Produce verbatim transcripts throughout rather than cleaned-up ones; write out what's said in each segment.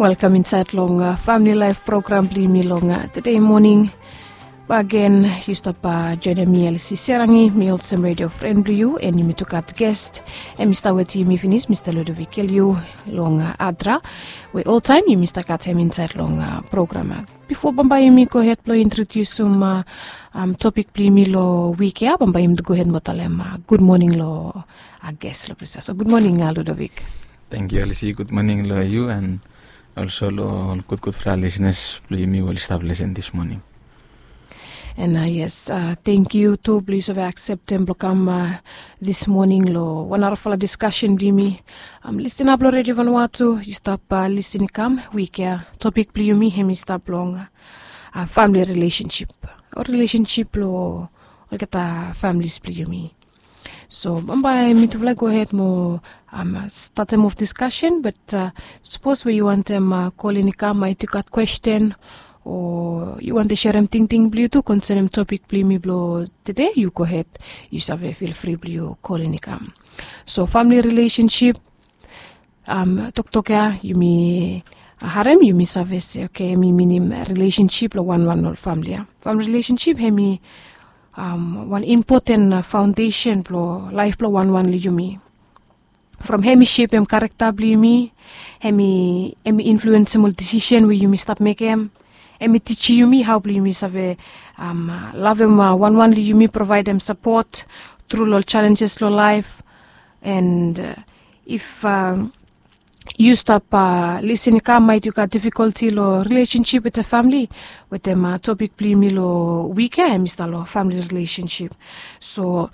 Welkam insaed long famili laef program blong yumi long tede moning. Bagen yu stap joenem mi Elsie Serangi, mi olsem redio fren blong yu, and yumi tu gat gest. Hem i stap wetem yumi finis, Mista Ludovic Keliu long Adra, we oltaem yumi stap gat hem insaed long program. Bifo bambae yumi gohed blong introdiusim topik blong yumi long wik ya, bambae yumi gohed mo talem gud moning long ges long ples ya. So gud moning Ludovic. Tangkiu Elsie, gud moning long yu and olso long ol gudgudfala lisnas blong yumi we oli stap lesen dis moning. And yes, tangkiu tu blong yu save akseptem blong kam dis moning long wan narafala diskasen blong yumi. Lisina blong redio Vanuatu, yu stap lisin i kam wik ya, topik blong yumi hem i stap long famili rilesensip o rilesensip blong olgeta familis blong yumi. So bambae mitufala i gohed mo statem of diskasen, bat sapos we yu wantem kolin i kam, maet yu gat kwesten o yu wantem serem tingting blong yu tu konsenem topik blong yumi blong tede, yu gohed, yu save filfri blong yu kolin i kam. So famili rilesensip, toktok ya yumi harem, yumi save se oke, hem i minim rilesensip long wanwan ol famili ya. Famili rilesensip hem i wan impoten faondesen blong laef blong wanwan long yumi. From hem i sepem karakta blong yumi, hem i influensem ol disisen we yumi stap mekem. Hem i tijim yumi hao blong yumi save lavem wanwan long yumi, provaedem sapot tru long ol jalenjes long laef. And if yu stap lisin i kam, maet yu gat difikolti long rilesensip wetem famili, wetem topik blong yumi long wik ya hem i stap long famili rilesensip. So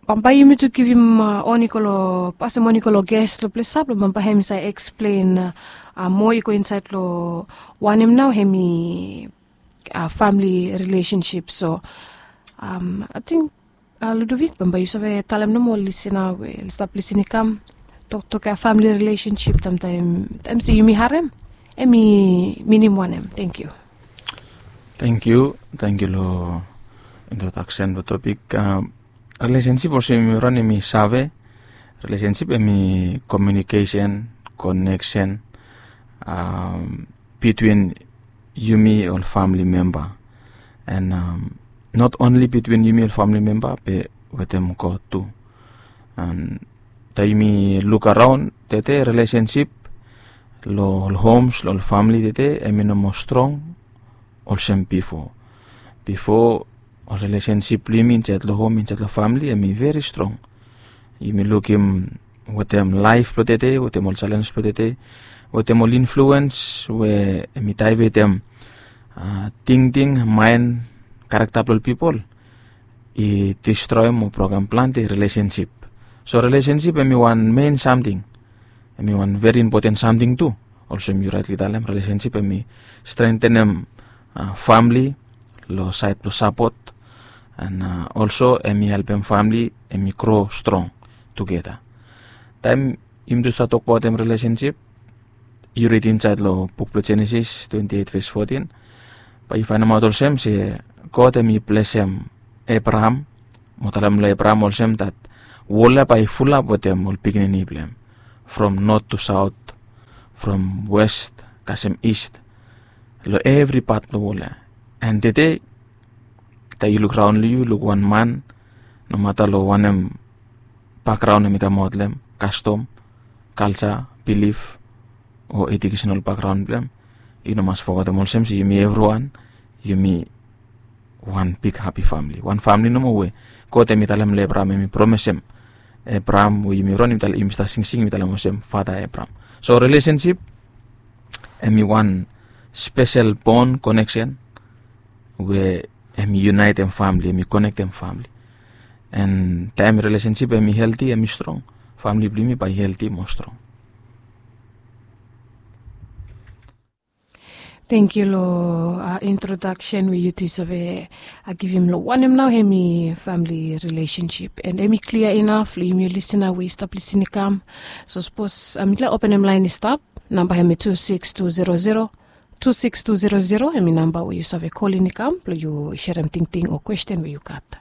bambae yumi tu givim on i go long, pasem on i go long ges long ples ya blong bambae hem i save eksplen moa i go insaed long wanem nao hem i famili rilesensip. So ating Ludovic, bambae yu save talem nomo ol lisina we oli stap lisin i kam, toktok ya famili rilesensip, tamtaem se yumi harem, hem i minim wanem? Tangkiu. Tangkiu. Tangkiu long introdaksen blong topik. Rilesensip olsem yumi ron yumi save, rilesensip hem i komiunikesen, koneksen bitwin yumi ol famili memba. And not onli bitwin yumi ol famili memba be wetem God tu. And taem yumi luk araon tede, rilesensip long ol homs, long ol famili tede hem i no moa strong olsem bifo. Bifo ol rilesensip blong yumi insaed long hom, insaed long famili hem i veri strong. Yumi lukim wetem laef blong tede, wetem ol jalenj blong tede, wetem ol influens we hem i daevetem tingting, maen, karakta blong ol pipol, i distroem o brokem plante rilesensip. So rilesensip hem i wan mein samting, hem i wan veri impoten samting tu. Olsem yu raetli talem, rilesensip hem i strengtenem famili long saed blong sapot, and olso hem i helpem famili hem i gro strong tugeta. Taem yumi tu stap tokbaotem rilesensip, yu rid insaed long buk blong Jenesis twenti eit ves fotin, bae yu faenemaot olsem se God hem i blesem Ebraham mo talem long Ebraham olsem dat wol ya bae i fulap wetem ol pikinini blong hem, from not tu saot, from west kasem ist, long evri pat blong wol ya. And tede taem yu luk raon long yu, luk wan man, nomata long wanem bakgraon hem i kamaot long hem, kastom, kalja, bilif o ejukesen bakgraon blong hem, yu no mas fogetem olsem se yumi evriwan yumi wan big hapi famili, wan famili nomo we God hem i talem long Ebraham, hem i promisem Ebraham, we yumi ron, yumi stap singsing, yumi talem olsem, Fata Ebraham. So rilesensip hem i wan spesel bon koneksen we hem i yunaetem famili, hem i konektem famili. And taem rilesensip hem i helti, hem i strong, famili blong yumi bae i helti mo strong. Tangkiu long introdaksen we yu tu save givim long wanem nao hem i famili rilesensip. And hem i klia inaf long yumi lisina we yu stap lisin i kam. So sapos mitufala openem laen i stap, namba hem i tu sikis tu zero zero, tu sikis tu zero zero, hem i namba we yu save kolin i kam blong yu serem tingting o kwesten we yu gat.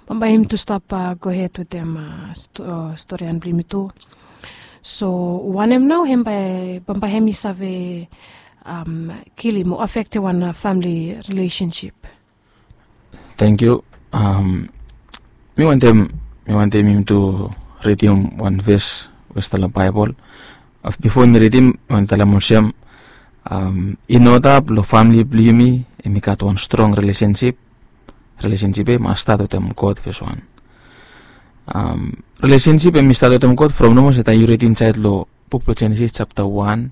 Bambae yumi tu stap gohed wetem storian blong yumi tu. So wanem nao hem bae bambae hem i save kilim o afektem wan famili rilesensip? Tangkiu. Mi wantem mi wantem yumi tu ridim wan ves we stap long Baebol. Bifo mi ridim, mi wantem talem olsem, i no dap long famili blong yumi hem i gat wan strong rilesensip. Rilesensip ya i mas stat wetem God, fes wan. Rilesensip hem i stat wetem God from nomo se taem yu rid insaed long buk blong Jenesis japta wan,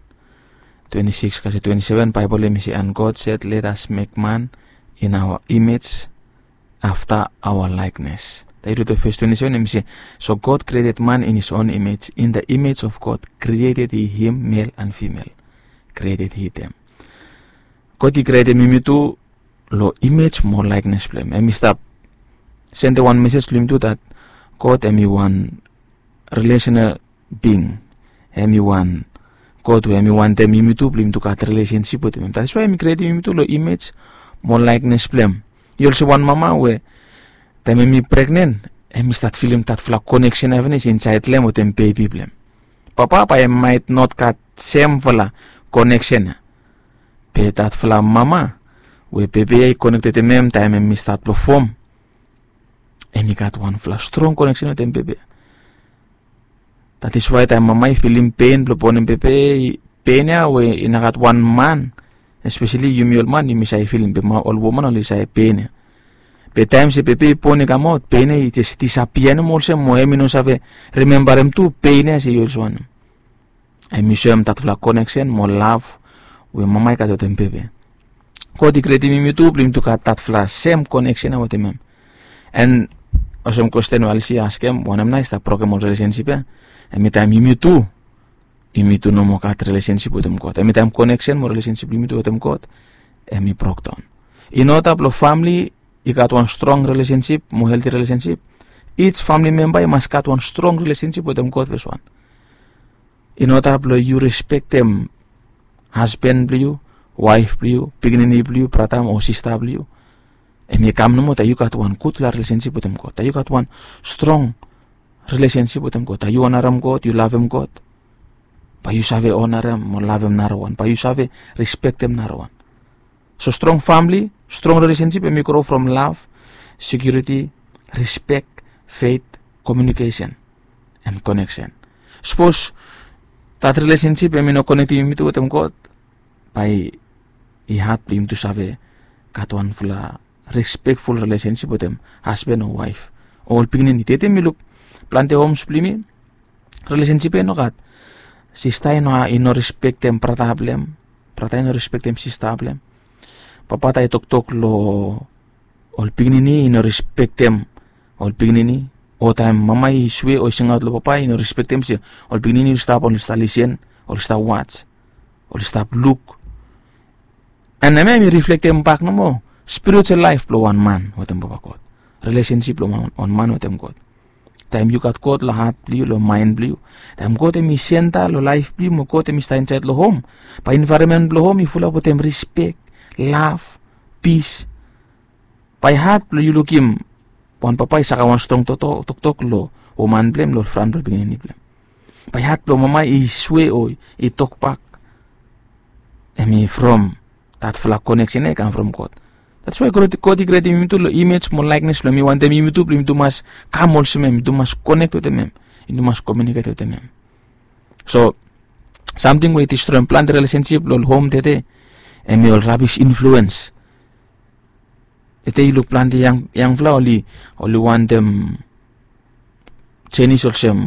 twenti sikis kasem twenti seven, Baebol hem i se, "And God said, let us make man in our image, after our likeness." Taem yu rid long ves twenti seven hem i se, "So God created man in his own image, in the image of God created he him, male and female created he them." God i krietem yumi tu long imej mo laeknes blong hem. Hem i stap sendem wan mesej long yumi tu dat God hem i wan relational bing. Hem i wan God we hem i wantem yumi tu blong yumi tu gat rilesensip wetem hem. That is why hem i krietem yumi tu long imej mo laeknes blong hem. I olsem wan mama we taem hem i pregnen, hem i stat filim datfala koneksen ya finis insaed long hem wetem bebi blong hem. Papa bae hem maet not gat semfala koneksen ya. Be datfala mama we bebe ya i konekted wetem hem taem hem i stat blong fom, hem i gat wanfala strong koneksen wetem bebe ya. That is why taem mama i filim pen blong bonem bebe, pen ya we i no gat wan man, espeseli yumi ol man yumi save filim, be ol woman oli save pen ya. Be taem se bebe i bon i kamaot, pen ya i jes disapia nomo olsem, mo hem i no save rimembarem tu pen ya se i olsem wanem. Hem i soem datfala koneksen mo lav we mama i gat wetem bebe. God i krietem yumi tu blong yumi tu gat datfala sem koneksen ya wetem hem. And olsem kwesten we Alisi i askem, wanem nao i stap brokem ol rilesensip ya? Hem i taem yumi tu, yumi tu no moa gat rilesensip wetem God. Hem i taem koneksen mo rilesensip blong yumi tu wetem God hem i brokdaon. In order blong famili i gat wan strong rilesensip mo helti rilesensip, each famili memba i mas gat wan strong rilesensip wetem God, fes wan. In order blong yu respektem hasben blong yu, waef blong yu, pikinini blong yu, brata o sista blong yu, hem i kam nomo taem yu gat wan gudfala rilesensip wetem God, taem yu gat wan strong rilesensip wetem God, taem yu onarem God, yu lavem God, bae yu save onarem mo lavem narawan, bae yu save respektem narawan. So strong famili, strong rilesensip hem i gro from lav, sekiuriti, rispek, fet, komiunikesen and koneksen. Sapos dat rilesensip hem i no konektem yumi tu wetem God, bae i had blong yumi tu save gat wanfala respekful rilesensip wetem hasben o waef o ol pikinini. Tede mi luk plante homs blong yumi, rilesensip ya i no gat. Sista i no, i no respektem brata blong hem, brata i no respektem sista blong hem. Papa taem i toktok long ol pikinini i no respektem ol pikinini, o taem mama i swe o i singaot long papa i no respektem se ol pikinini oli stap, oli stap lisen, oli stap waj, oli stap luk. And hemia hem i riflektem bak nomo spiritual laef blong wan man wetem Papa God, rilesensip blong wan man wetem God. Taem yu gat God long hat blong yu, long maen blong yu, taem God hem i senta long laef blong yu mo God hem i stap insaed long hom, bae envaeronmen blong hom i fulap wetem rispek, lav, pis. Bae hat blong yu lukim wan papa i sakem wan strong toktok long woman blong hem long fran blong pikinini blong hem. Bae hat blong mama i swe o i tokbak, hem i from datfala koneksen ya i kam from God. That's why God i krietem yumi tu long imej mo laeknes blong hem. I wantem yumi tu blong yumi tu mas kam olsem hem, yumi tu mas konek wetem hem, yumi tu mas komiuniket wetem hem. So samting we i distroem plante rilesensip long ol hom tede, hem i ol rabis influens. Tede yu luk plante yangfala oli, oli wantem jenis olsem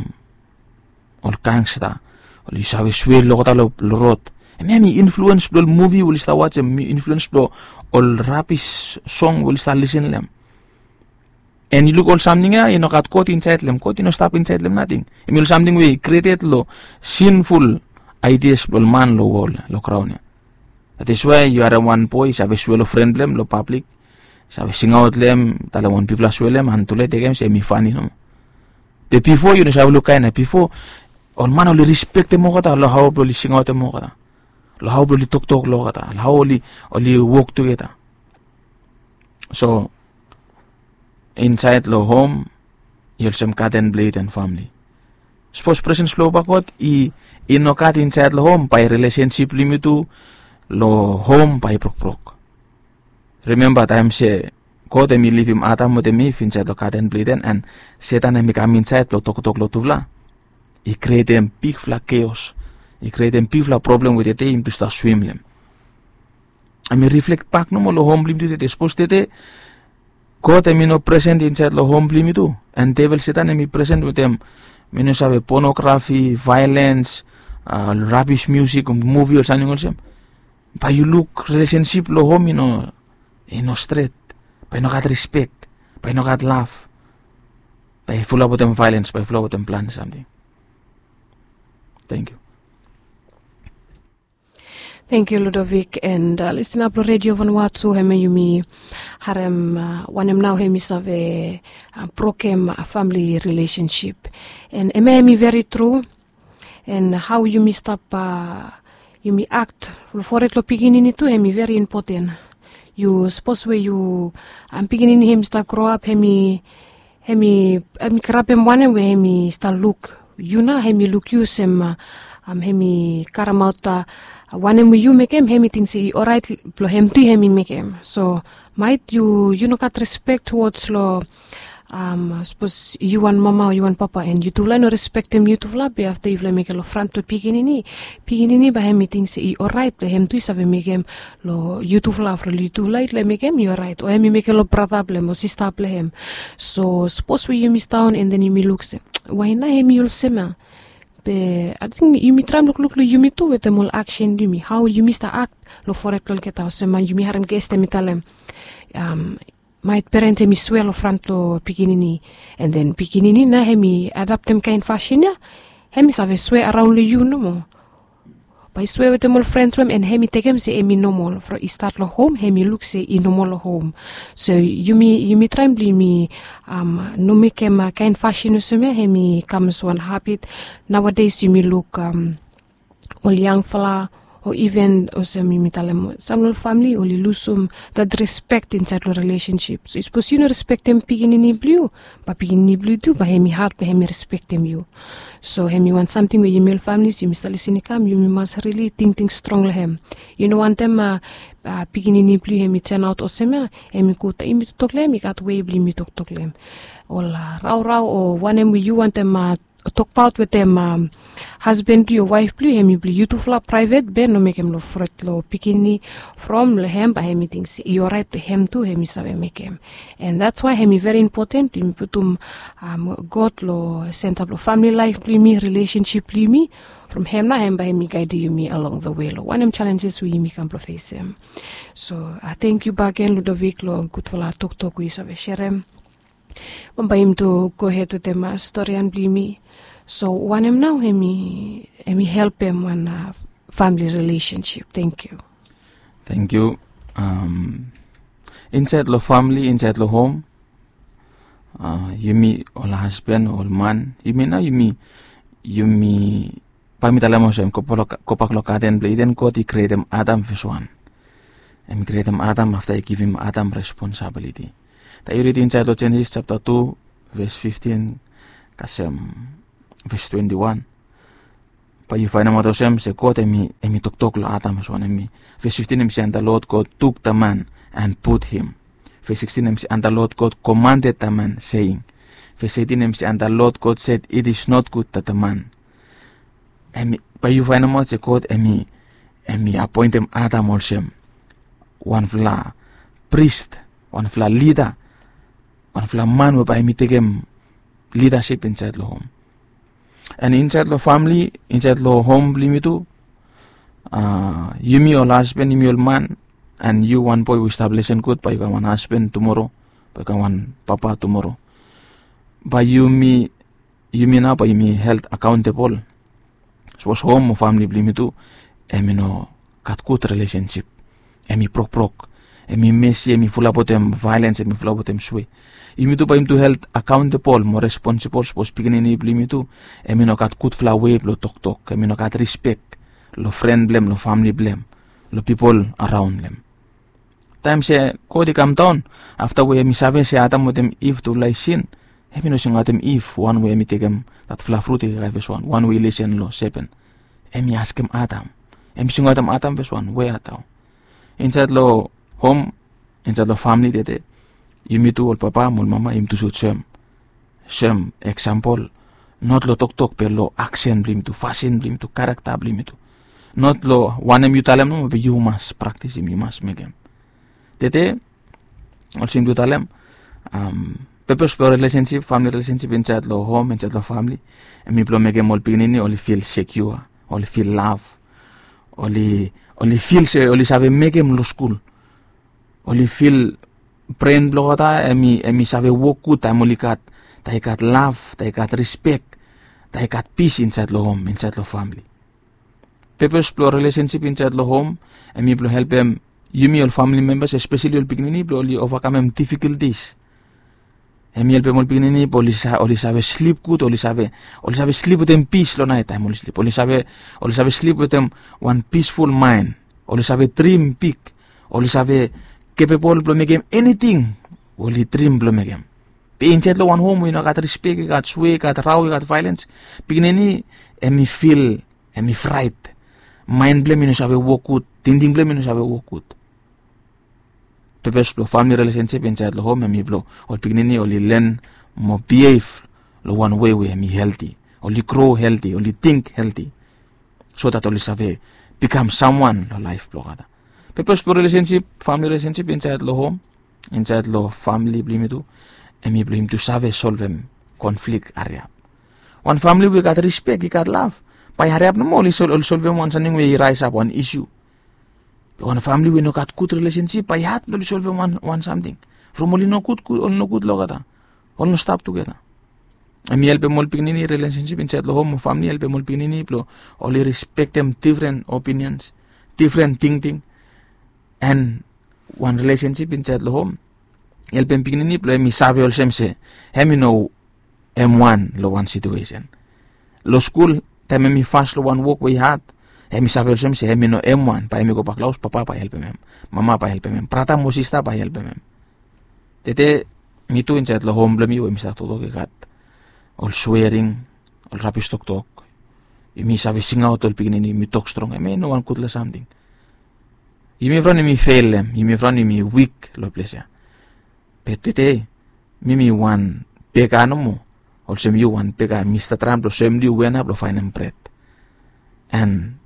ol gangsta, oli save swe long olgeta long rod. Hemia hem i influens blong ol muvi we oli stap wajem, hem i influens blong ol rabis song we oli stap lisen long hem. And yu luk ol samting ya i no gat God insaed long hem. God i no stap insaed long hem nating. Hem i ol samting we i krieted long sinful aidias blong ol man long wol, long graon ya. That is why yu harem wan boe i save swe long fren blong hem long pablik, save singaot long hem, talem wan bigfala swe long hem, and tule tekem se hem i fani nomo. Be bifo yu no save luk kaen ya. Bifo ol man oli rispektem olgeta long hao blong oli singaotem olgeta, long hao blong oli toktok long olgeta, long hao oli wok tugeta. So insaed long hom i olsem gaden blong Iden famili. Sapos presens blong papa god i i no gat insaed long hom, bae rilesensip blong yumi tu long hom bae i brokbrok. Rimemba taem se god hem i livim adam wetem iv insaed long gaden blong iden, an setan hem i kam insaed blong toktok long tufala, i krietem bigfala keos, i krietem bigfala problem we tede yumi tu stap swim long hem. Hem i riflek bak nomo long hom blong yumi tu tede. Sapos tede god hem i no presen insaed long hom blong yumi tu, an devel setan hem i presen wetem, mi no save, ponografi, vaelens, rabis miusik, muvi, ol samting olsem, bae yu luk rilesensip long hom i no i no stret. Bae i no gat rispek, bae i no gat lav, bae i fulap wetem vaelens, bae i fulap wetem plante samting. Tangkiu. Tangkiu Ludovik, and lisina blong redio vanua tu hemia yumi harem wanem nao hemi save brokem famili rilesensip. And hemia hemi veri tru. And hao yumi stap yumi akt long fored long pikinini tu hemi veri impoten. Yu sapos we yu pikinini hemi stap groap, hemi hemi karapem wanem we hemi stap luk yu nao, hemi luk yu olsem hemi karemaot wanem we yu mekem, hemi ting se i oraet blong hem tu hemi mekem. So maet yu yu no gat rispek tuods long sapos yu wan mama o yu wan papa and yutufala i no rispektem yutufala be afta yufala i mekem long fran blong pikinini, pikinini bae hemi ting se i oraet blong hem tu i save mekem long yutufala from yutufala i mekem i oraet o hemi mekem long brata blong hem o sista blong hem. So sapos we yumi staon and then yumi luk se wae nao hemi olsem ya? Be ating yumi traem lukluk long yumi tu wetem ol aksen blong yumi, hao yumi stap akt long fored blong olgeta olsem man yumi harem ges hemi talem maet peren hemi swea long fran blong pikinini, and then pikinini nao hemi adaptem kaen fasin ya, hemi save swea araon long yu nomo. Bae i swea wetem ol frens blong hem and hemi tekem se hemi nomol from i stat long hom, hemi luk se i nomol long hom. So yumi yumi traem blong yumi no mekem kaen fasin olsem ya, hemi kam olsem wan habit. Naoades yumi luk ol yangfala o iven olsem yumi talem sam long ol famili oli lusum dat rispek insaed long rilesensip. So sapos yu no rispektem pikinini blong yu, bae pikinini blong yu tu bae hemi had blong hemi rispektem yu. So hemi wan samting we yumi ol familis yumi stap lisin i kam, yumi mas rili tingting strong long hem. Yu no wantem pikinini blong yu hemi tenaot olsem ya, hemi gud. Yumi toktok long hem i gat wei blong yumi toktok long hem. Ol raorao o wanem we yu wantem tokbaot wetem hasben blong yu o waef blong yu, hemi blong yutufala praevet, be no mekem long fred long pikinini from long hem bae hemi ting se i oraet blong hem tu hemi save mekem. And dats wae hemi veri impoten blong yumi putum god long senta blong famili laef blong yumi, rilesensip blong yumi. From hem nao hem bae hemi gaedem yumi along the wei long wanem jalenjes we yumi kam blong fesem. So tangkiu bakegen Ludovik long gudfala toktok we yu save serem. Bambae yumi tu gohed wetem storian blong yumi. So wanem nao hemi hemi helpem wan famili rilesensip? Tangkiu. Tangkiu. Insaed long famili, insaed long hom, yumi ol hasben o ol man, yumi nao yumi yumi bae mi talem olsem, gobak long gaden blong iden god i krietem adam fes wan. Hem i krietem adam afta i givim adam responsabiliti. Taem yu rid insaed long jenesis japta tu ves fiftin kasem ves twenti wan, bae yu faenemaot olsem se god hem i toktok long adam fes wan. Hem i ves fiftin hem i se, and the lord god tuk the man and put him. Ves sikstin hem i se, and the lord god komanded the man, seing. Ves eitin hem i se, and the lord god sed it is not good that the man. Bae yu faenemaot se god hem i apoentem adam olsem wanfala pris, wanfala lida, wanfala man we bae hem i tekem lidasip insaed long hom. And insaed long famili, insaed long hom blong yumi tu, yumi ol hasben, yumi ol man, and yu wan boe we yu stap lesen gud bae yu kam wan hasben tumoro, bae yu kam wan papa tumoro, bae yumi yumi nao bae yumi held akaontebol. Sapos hom o famili blong yumi tu hem i no gat gud rilesensip, hem i brokbrok, hem i mesi, hem i fulap wetem vaelens, hem i fulap wetem swe, yumi tu bae yumi tu held akaontebol mo responsibol sapos pikinini blong yumi tu hem i no gat gudfala wei blong toktok, hem i no gat rispek long fren blong hem, long famili blong hem, long pipol araon long hem. Taem se god i kamdaon afta we hem i save se adam wetem iv tufala i sin, Em i no singaotem if wan we em i tekem datfala frut i kaikai fes wan wan we i lesen long sepen. Em i askem adam. Em i singaotem adam fes wan we adam. Insaet long hom, insaet long famili tete, yumi tu ol papa mo ol mama yumi tu sud sem sem eksampol, not long toktok be long aksen blong yumi tu, fasin blong yumi tu, karakta blong yumi tu. Not long wanem yu talem nomo be yu mas praktisim, yu mas mekem. Tete olsem tu talem, pepes blong relesensip, famili relesensip insaet long hom, insaet long famili, em i blong mekem ol pikinini oli fil sekiua, oli fil lav, oli oli fil se oli save mekem long skul, oli fil bren blong olgeta em i save wok gud taem oli gat, taem i gat lav, taem i gat rispek, taem i gat pis insaet long hom, insaet long famili. Pepes blong relesensip insaet long hom em i blong helpem yumi ol famili membas, espeseli ol pikinini, blong oli ovakamem difikultis. Em i helpem ol pikinini blong oli save slip gud, oli save slip wetem pis long naet taem oli slip, oli save slip wetem wan pisful maen. Oli save drim bik, oli save kepebol blong mekem eniting we oli drim blong mekem. Be insaet long wan hom we i no gat rispek, i gat swe, i gat rao, i gat vaelens, pikinini em i fil, em i fraet. Maen blong em i no save wok gud, tingting blong em i no save wok gud. Pepes blong famili relesensip insaet long hom em i blong ol pikinini oli len mo bihev long wan we we em i helti, oli gro helti, oli ting helti, so dat oli save bikam samwan long laef blong olgeta. Pepes blong relesensip, famili relesensip insaet long hom, insaet long famili blong yumi tu, em i blong yumi tu save solvem konflik hariap. Wan famili we i gat rispek, i gat lav, bae hariap nomo oli solvem wan samting we i raesap, wan isiu. Be wan famili we i no gat gud relesensip, bae i had blong oli solvem wan samting, from oli no gud, oli no gud long olgeta, oli no stap tugeta. Em i helpem ol pikinini, relesensip insaet long hom o famili i helpem ol pikinini blong oli rispektem difren opiniens, difren tingting. En wan relesensip insaet long hom i helpem pikinini blong em i save olsem se em i no em wan long wan situesen. Long skul, taem em i fas long wan wok we i had, em i save olsem se em i no em wan, bae em i gobak long haos, papa bae helpem em, mama bae helpem em, brata mo sista bae helpem em. Tede mi tu insaed long hom blong mi we mi stap toktok i gat ol swering, ol rabis toktok. Yumi save singaot ol pikinini, yumi tok strong, hemia i no wan gudfala samting. Yumi fran yumi feilem, yumi fran yumi wik long ples ya. Be tede mi mi wan bega nomo, olsem yu wan bega, mi stap traem blong soem long yu we nao blong faenem bred. En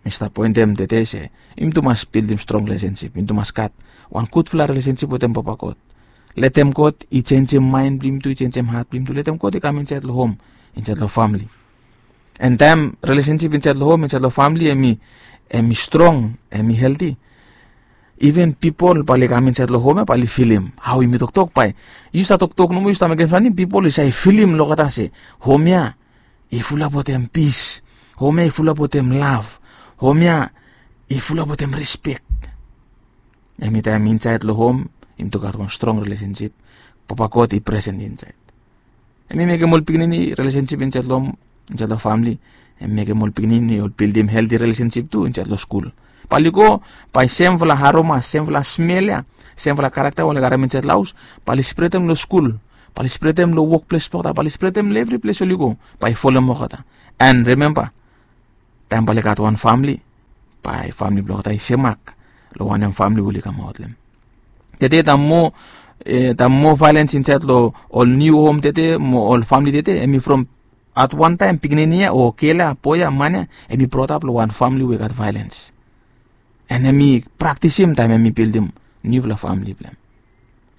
mi stap poentem tede se yumi tu mas bildim strong relesensip, yumi tu mas gat wan gudfala relesensip wetem Papa God. Letem God i jenjem maen blong yumi tu, i jenjem hat blong yumi tu. Letem God i kam insaed long hom, insaed long famle. En taem relesensip insaed long hom, insaed long famle hemi, hemi strong, hemi helti, iven pipol bae oli kam insaed long hom ya bae oli filim hao yumi toktok. Bae yu stap toktok nomo, yu stap mekem samting, pipol i save filim long olgeta se hom ya i fulap wetem pis, hom ya i fulap wetem lav, hom ya i fulap wetem rispek. Hemi taem insaed long hom yumi tu gat wan strong relesensip, Papa God i presen insaed. Hemi mekem ol pikinini relesensip insaed long hom, insaed long famle, hemi mekem ol pikinini oli bildim helti relesensip tu insaed long skul. Bae oli go, bae semfala aroma, semfala smel ya, semfala karakta we oli karem insaed long haos, bae oli spretem long skul, bae oli spretem long wokples blong olgeta, bae oli spretem long evri ples oli go, bae i folem olgeta. En rimemba, taem bae oli gat wan famle, bae famle blong olgeta i semak long wanem famle we oli kamaot long hem. Tede taem moa, taem moa vaelens insaed long ol niu hom tede mo ol famle tede, hemi from at wan taem pikinini ya o gel ya, boe ya, man ya, hemi brotap long wan famle we i gat vaelens. En hemi praktisim taem hemi bildim niufala famle blong hem.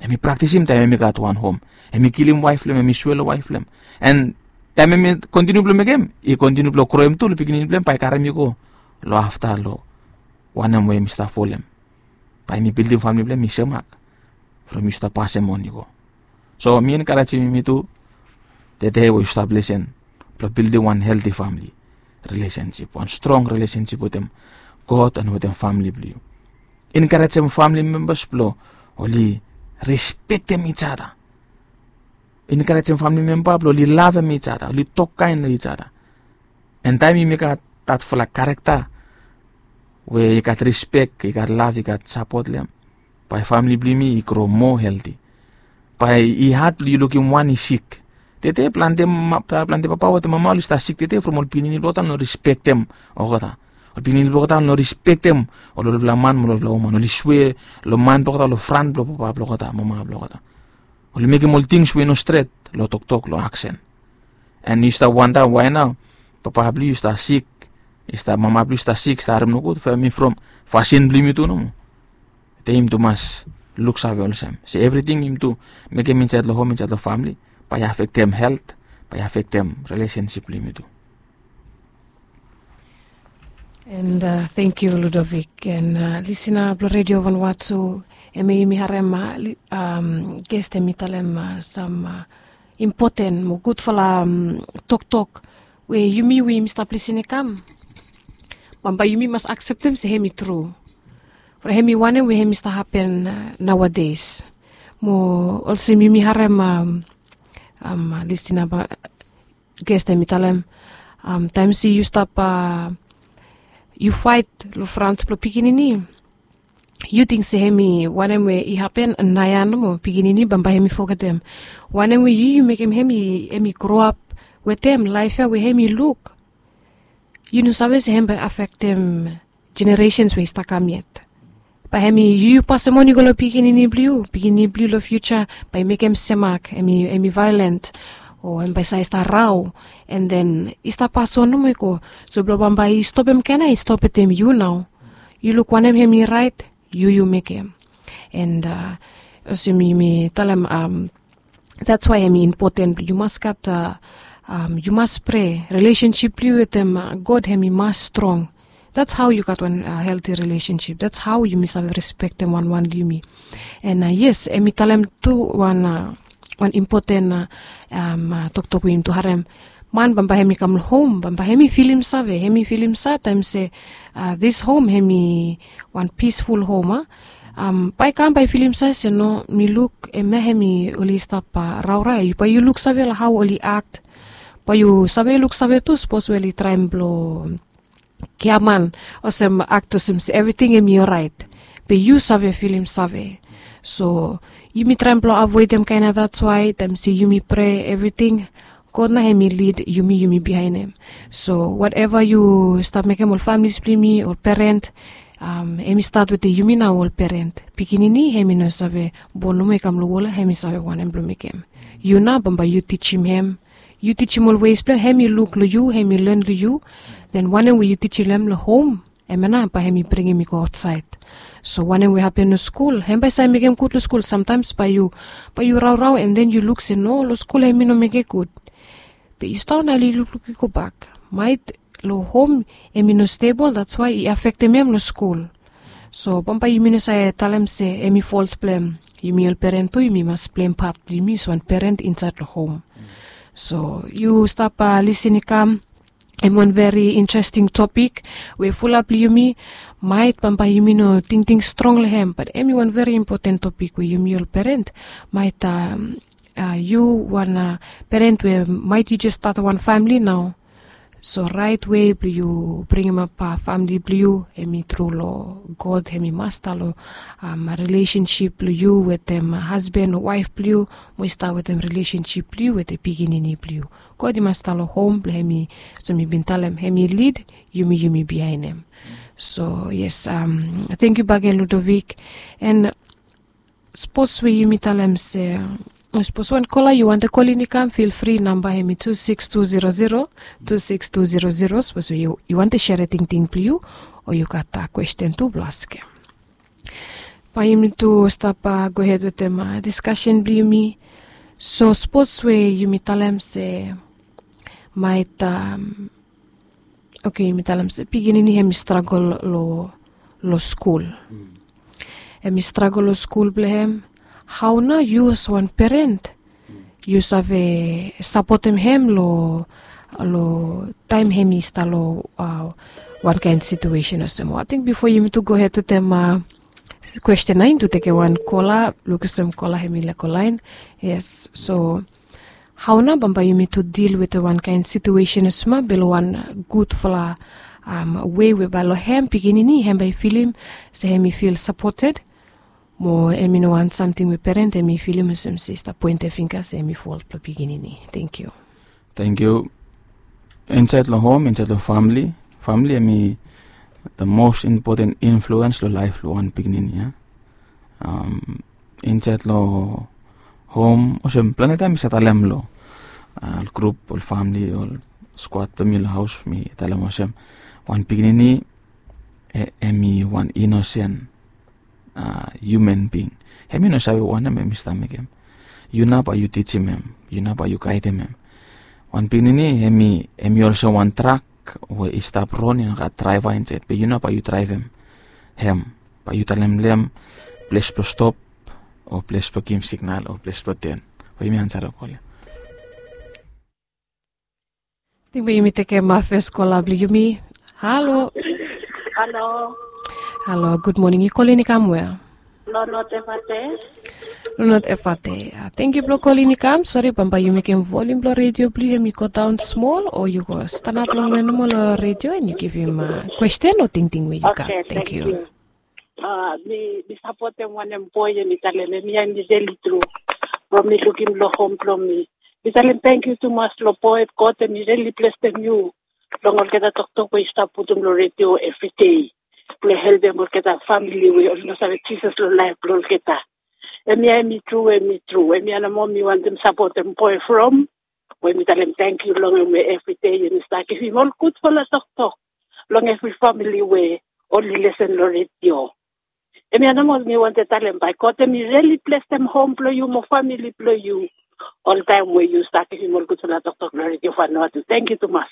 Hemi praktisim taem hemi gat wan hom, hemi kilim waef blong hem, hemi swea long waef blong hem. En taem hemi kontiniu blong mekem, i kontiniu blong groem tu long pikinini blong hem, bae i karem i go long afta long wanem we hemi stap folem. Bae hemi bildim famle blong hem i semak from yu stap pasem on i go. So mi enkarejim yumi tu tede we yu stap lesen, blong bildim wan helti famle relesensip, wan strong relesensip wetem God en wetem famle blong yu. Enkarejem famle membas blong oli respektem each other. Enkarejem famle memba blong oli lavem each other, oli tok kaen long each other. En taem yumi gat datfala karakta we i gat rispek, i gat lav, i gat sapot long hem, bae famle blong yumi i gro moa helti. Bae i had blong yu lukim wan i sik. Tede plante papa wetem mama oli stap sik tede from ol pikinini blong olgeta oli no rispektem olgeta. Ol pikinini blong olgeta oli no rispektem ol olfala man mo ol olfala woman, oli swe long man blong olgeta, long fran blong papa blong olgeta, mama blong olgeta. Oli mekem ol tings we i no stret long toktok, long aksen. An yu stap wanda wae nao papa blong yu i stap sik, i stap, mama blong yu i stap sik, i stap harem nogud, from fasin blong yumi tu nomo. Te yumi tu mas luksave olsem se evriting yumi tu mekem insaed long hom, insaed long famili, bae i afektem helt, bae i afektem rilesensip blong yumi tu. And thank you, Ludovic, and lisina blong redio Vanuatu, hemia yumi harem gestem i talem sam impoten mo gudfala toktok we yumi we yumi stap lisin i kam, bambae yumi mas akseptem se hem i tru. From hem i wanem we hem i stap hapen naoades. Mo olsem yumi harem, lisina gestem i talem, taem se yu stap, yu faet long frant blong pikinini, yu ting se hem i wanem we i hapen naoia nomo, pikinini bambae hem i fogetem wanem we yu yu mekem hem i groap wetem laef ya we hem i luk. Yu no save se hem bae afektem jeneresens we i stap kam yet. Bae hem i yu yu pasem on i go long pikinini blong yu, pikinini blong yu long fiuja bae i mekem semak, hem i vaeolent, o hem bae save i stap rao, an den i stap pas on nomo i go. So blong bambae i stopem kaen ya i stop wetem yu nao. Yu luk wanem hem i raet, yu yu mekem. And olsem yumi talem, that's wae hem i impoten blong yu mas gat, yu mas prea, rilesensip blong yu wetem God hem i mas strong. That's hao yu gat wan helti rilesensip, that's hao yumi save respektem wanwan long yumi. And yes, hem i talem tu wan impoten toktok we yumi tu harem. Man bambae hem i kam long hom bambae hem i filim save, hem i filim save taem se this hom hem i wan pisful hom a. Bae i kam bae i filim save se no, mi luk hemia hem i oli stap raorao ya. Bae yu luksave long hao oli ak, bae yu save luksave tu sapos we oli traem blong giaman, olsem ak olsem se evriting hem i oraet, be yu save filim save. So yumi traem blong avoedem kaen ya, that's wae taem se yumi prea evriting, God nao hem i lid yumi, yumi biaenem. So wateva yu stap mekem, ol familis blong yumi, ol peren, hem i stat wetem yumi nao ol peren. Pikinini hem i no save bon nomo i kam long wol ya hem i save wanem blong mekem. Yu nao bambae yu tijim hem, yu tijim ol wes blong hem, hem i luk long yu, hem i len long yu. Den wanem we yu tijim hem long hom, hemia nao bae hem i bringim i go aotsaed. So wanem we hapen long skul, hem bae save mekem gud long skul. Samtaems bae yu, bae yu raorao an den yu luk se no, long skul hem i no mekem gud. Be yu stap nao, yu lukluk i gobak, maet long hom hem i no stebol, that's wae i afektem hem long skul. So bambae yumi no save talem se hem i folt blong hem. Yumi ol peren tu yumi mas pleim pat blong yumi olsem wan peren insaed long hom. So yu stap lisin i kam, hem wan veri interesting topik we fulap blong yumi, maet bambae yumi no tingting strong long hem, bat hem i wan veri impoten topik we yumi ol peren, maet yu wan peren we maet yu jes stat wan famili nao. So raet wei blong yu bringimap famili blong yu, hem i tru long God hem i masta long rilesensip blong yu wetem hasban o waef blong yu, mo i stap wetem rilesensip blong yu wetem pikinini blong yu. God i masta long hom blong hem i, olsem mi bin talem, hem i lid, yumi yumi biaenem. So yes, tangkiu bakegen Ludovic. An sapos we yumi talem se, sapos wan kola yu wantem kolin i kam, fil fri, namba hem i tu sikis tu zero zero, tu sikis tu zero zero. Sapos we yu wantem serem tingting blong yu, o yu gat kwesten tu blong askem. Bae yumi tu stap gohed wetem diskasen blong yumi. So sapos we yumi talem se, maet, oke, yumi talem se pikinini hem i stragol long skul. Hem i stragol long skul blong hem. Hao nao yu olsem wan peren yu save sapotem hem long, long taem hem i stap long wankaen situesen olsem? Ating bifo yumi tu gohed wetem kwesten ya, yumi tu tekem wan kola, luk olsem kola hem i laek go laen. Yes, so hao nao bambae yumi tu dil wetem wankaen situesen olsem ya, be long wan gudfala wei we bae long hem pikinini hem bae i filim se hem i fil sapoted, Mo em i no wan samting we peren em i filim olsem se i stap poentem fingga se em i fol blong pikinini. Thank you. Thank you. Insait long hom, insait long famili, famili em i the most important influence long laif blong wan pikinini ya. Um, insait long hom olsem planti taim mi sa talem long uh, grup ol famili ol squad blong mi long haus mi talem olsem wan pikinini e- em i wan inosen uh, human being. Em i no save wanem em i stap mekem. Yu nao bae yu tijim em, yu nao bae yu gaidem em. Wan pikinini em i em i olsem wan trak we i stap ron i no gat draeva insait be yu nao bae yu draevem em. Bae yu talem long em ples blong stop o ples blong givim signal o ples blong ten. Bae yumi ansarem kol ya. Ating bae yumi tekem fes kola blong yumi. Halo. Halo. Halo, gud moning. Yu kolin i kam wea? Lonot Efate. Lonot Efate. Tengkiu blong kolin i kam. Sori bambae yu mekem volim blong redio blong yu em i go daon smol o yu go stanap longwe nomo long redio en yu givim kwesten o tingting we yu gat. Tengkiu. Mi sapotem wanem boe ya mi talem em ya em i reli tru. From mi lukim long hom blong mi, mi talem tengkiu tumas long boe, God em i reli blesem yu long olgeta toktok we yu stap putum long redio evri dei blong helpem olgeta famili we oli no save Jisas long laef blong olgeta. Em ya em i tru, em i tru. Em ya nomo mi wantem sapotem boe from we mi talem tengkiu long em we evri dei em i stap givim ol gudfala toktok long evri famili we oli lesen long redio. Em ya nomo mi wantem talem bae God em i reli blesem hom blong yu mo famili blong yu oltaem we yu stap givim ol gudfala toktok long redio Vanuatu. Tengkiu tumas.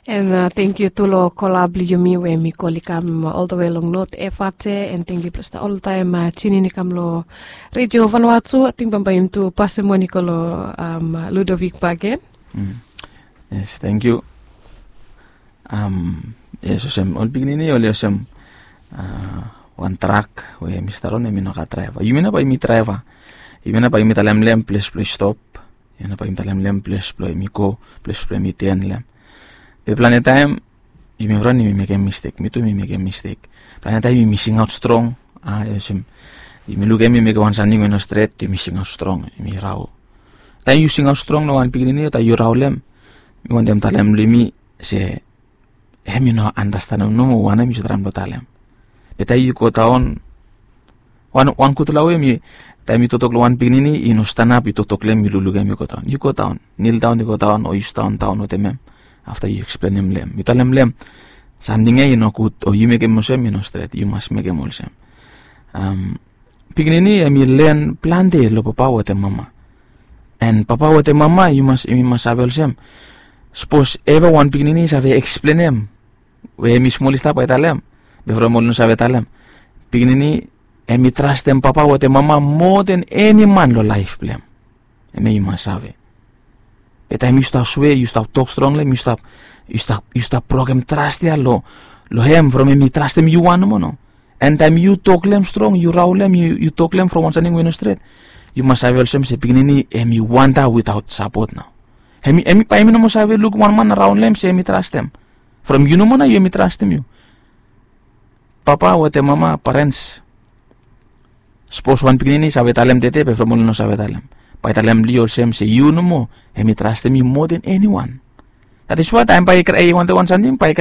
En tengkiu tu long kola blong yumi we mi kol i kam oltawe long North Efate. En tengkiu blong stap oltaem tunin i kam long redio Vanuatu. Ating bambae yumi tu pasem wan i go long Ludovik bagen. Yes, tengkiu. Yes, olsem ol pikinini oli olsem wan trak we em i stap ron em i no gat draeva. Yumi nao bae yumi draeva. Yumi nao bae yumi talem long em ples blong i stop. Yumi nao bae yumi talem long em ples blong em i go, ples blong em i ten long em. Be plante taem yumi ran yumi mekem mistek, mi tu mi mekem mistek. Plante taem yumi singaot strong. Olsem yumi lukim yumi mekem wan samting we no stret, yumi singaot strong, yumi rao. Taem yu singaot strong long wan pikinini o taem yu rao long em, mi wantem talem long yumi se em i no andastanem nomo wanem yu save traem blong talem. Be taem yu go daon wan gudfala we mi taem yu toktok long wan pikinini i no stanap yu toktok long em yu luklukim yu go daon, yu go daon, nil daon yu go daon o yu sidaon daon wetem em. Afta yu eksplenem long em, yu talem long em samting ya i no gud o yu mekem olsem i no stret, yu mas mekem olsem. Pikinini em i len plante long papa wetem mama. En papa wetem mama yu mas save olsem, sapos eva wan pikinini i save eksplenem we em i smol i stap bae i talem, be from oli no save talem, pikinini em i trastem papa wetem mama moa den eni man long laef blong em. Em ya yu mas save. Be taem yu stap swe, yu stap tok strong long em, yu stap brokem tras ya long em from em i trastem yu wan nomo no. En taem yu tok long em strong, yu rao long em, yu tok long em from wan samting we i no stret, yu mas save olsem se pikinini em i wanda witaot sapot nao. Em i bae em i no moa save lukim wan man araon long em se em i trastem. From yu nomo nao yu em i trastem yu. Papa wetem mama, parens, sapos wan pikinini i save talem tede be from oli no save talem, bae i talem long yu olsem se yu nomo em i trastem yu moa den eniwan. That is why taem bae i wantem wan samting bae i